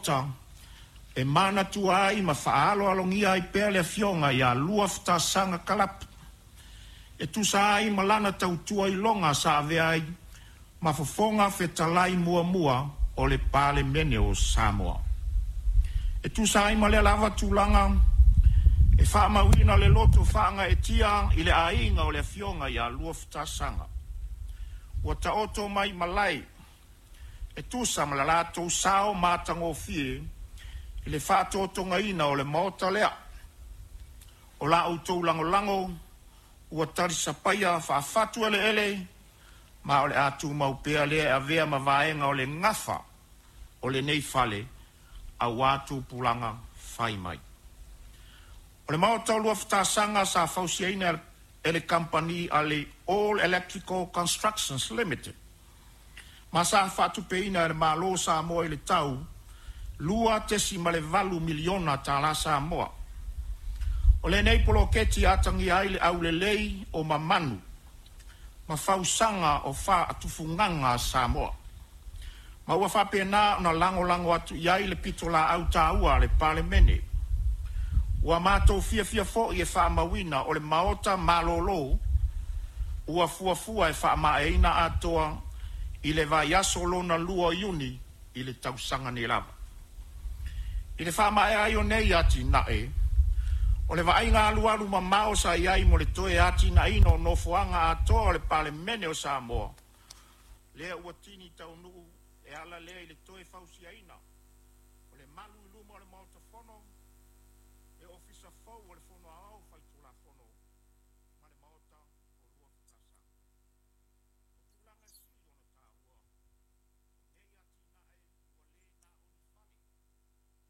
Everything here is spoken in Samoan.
Maota e manatua ai ma faaaloalogia ai pea le Afioga ia Luafatasaga Kalapu e tusa ai ma lana tautua iloga sa avea ai ma Fofoga Fetalai muamua o le Palemene o Samoa. E tusa ai ma lea lava tulaga, e faamauina le loto faagaeetia i le aiga o le Afioga ia Luafatasaga ua taoto mai malae e tusa ma le latou sao matagofie i le faatotogaina o le Maota lea. O la outou lagolago ua talisapaia faafatu eleele, ma o le a tumau pea lea e avea ma vaega o le gafa o lenei fale aua tupulaga fai mai. O le Maota o Luafatasaga sa fausiaina e le kamupani a le All Electrical Constructions Limited ma sa faatupeina e le Malo o Samoa i le tau $2.8 miliona tala Samoa. O lenei poloketi e atagia ai le aulelei o mamanu ma fausaga o faatufugaga a Samoa, ma ua faapena ona lagolago atu i ai le pitolaau taua a le Palemene. Ua matou fiafia foi e faamauina o le Maota malolo ua fuafua e faamaeaina atoa i le vaiaso lona lua o Iuni i le tausaga nei lava. I le faamaea ai o nei atinae, o le vaaiga alualu mamao sa i ai mo le toe atinaeina o nofoaga atoa o le Palemene o Samoa, lea ua tini taunuu e ala lea i le toe fausiaina o le malu i luma o le Maota Fono, le Ofisa fou o le Fono Aoao.